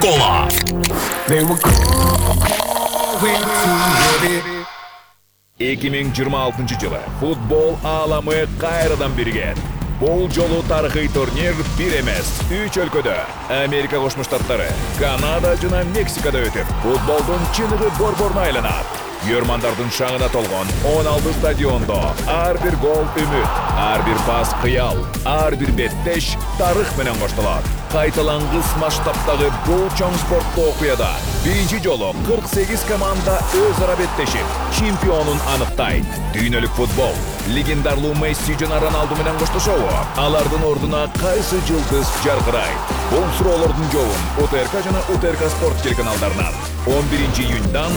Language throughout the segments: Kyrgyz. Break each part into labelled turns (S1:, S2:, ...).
S1: Coca-Cola.
S2: 2026 жылы футбол ааламы кайрадан биригет. Бул жолу тарыхый турнир бир эмес, 3 өлкөдө Америка Кошмо Штаттары, Канада жана Мексикада өтүп, футболдун чыныгы борборуна айланат. Көрмандардын шаңына толгон 16 стадиондо ар бир гол үмүт, ар бир пас кыял, ар бир беттеш тарых менен коштолот. Кайталангыс масштабтагы бул чоң спорттуу окуяда биринчи жолу 48 команда өз ара беттешип, чемпионун аныктайт. Дүйнөлүк футбол легендарлуу Месси жана Роналду менен коштошобу? Алардын ордуна кайсы жылдыз жаркырайт? Бул суроолордун жообун УТРК жана УТРК спорт телеканалдарынан 11-июньдан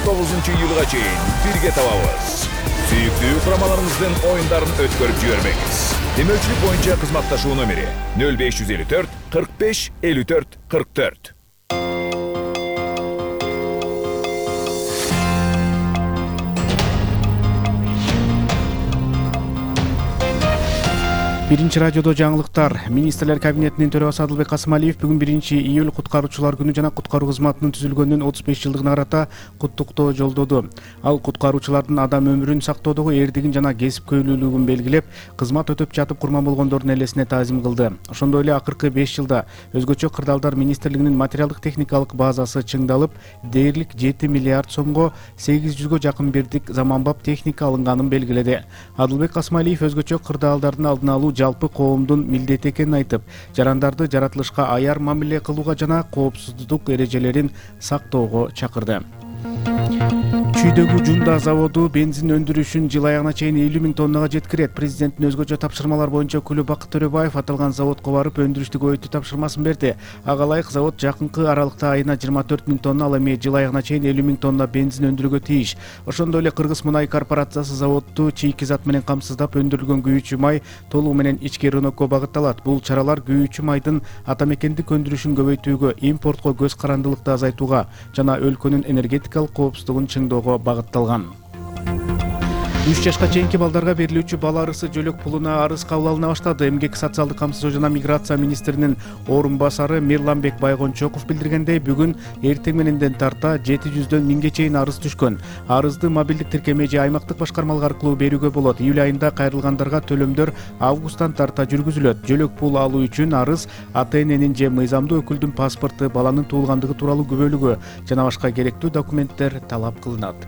S2: 19-июлга чейин бирге табабыз. Сүйүктүү курамаларыңыздын оюндарын өткөрүп жибербеңиз. Демөөлчүлүк боюнча кызматташуу номери 0554 45 54 44.
S3: Биринчи радиодо жаңылыктар. Министрлер кабинетинин төрагасы Адылбек Касымалиев бүгүн 1-июль куткаруучулар күнү жана куткаруу кызматынын түзүлгөнүнүн 35 жылдыгына карата куттуктоо жолдоду. Ал куткаруучулардын адам өмүрүн сактоодогу эрдигин жана кесипкөйлүүлүгүн белгилеп, кызмат өтөп жатып курман болгондордун элесине таазим кылды. Ошондой эле акыркы 5 жылда өзгөчө кырдаалдар министрлигинин материалдык техникалык базасы чыңдалып, дээрлик 7 миллиард сомго 800гө жакын бирдик заманбап техника алынганын белгиледи. Адылбек Касымалиев өзгөчө кырдаалдардын алдын алуу жалпы коомдун милдети экенин айтып, жарандарды жаратылышка аяр мамиле кылууга жана коопсуздук эрежелерин сактоого чакырды. Чүйдөгү Жунда заводу бензин өндүрүшүн жыл аягына чейин 50 000 тоннага жеткирет. Президенттин өзгөчө тапшырмалар боюнча өкүлү Бакыт Төрөбаев аталган заводко барып өндүрүштү көбөйтүү тапшырмасын берди. Ага ылайык завод жакынкы аралыкта айына 24 000 тонна, ал эми жыл аягына чейин 50 000 тонна бензин өндүрүүгө тийиш. Ошондой эле Кыргыз мунай корпорациясы заводду чийки зат менен камсыздап өндүрүлгөн күйүүчү май толугу менен ички рынокко багытталат. Бул чаралар күйүүчү майдын атамекендик өндүрүшүн көбөйтүүгө, импортко көз карандылыкты азайтууга жана өлкөнүн энергетикалык коопсуздугун чыңдоого багытталган. 3 жашка чейинки балдарга берилүүчү бала арысы жөлөк пулуна арыз кабыл алына баштады. Эмгек социалдык камсыздоо жана миграция министринин орун басары Мирланбек Байгончоков билдиргендей, бүгүн эртең мененден тарта 700дөн 1000ге чейин арыз түшкөн. Арызды мобилдик тиркеме же аймактык башкармалар аркылуу берүүгө болот. Июль айында кайрылгандарга төлөмдөр августтан тарта жүргүзүлөт. Жөлөк пул алуу үчүн арыз ата-эненин же мыйзамдуу өкүлдүн паспорту, баланын туулгандыгы тууралуу күбөлүгү жана башка керектүү документтер талап кылынат.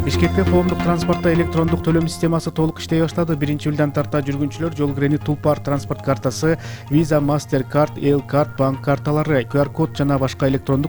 S3: Бишкекте коомдук транспортто электрондук төлөм системасы толук иштей баштады. 1-июлдан тарта жүргүнчүлөр жол кирени Тулпар транспорт картасы, Visa, MasterCard, L-Card, банк карталары, QR-код жана башка электрондук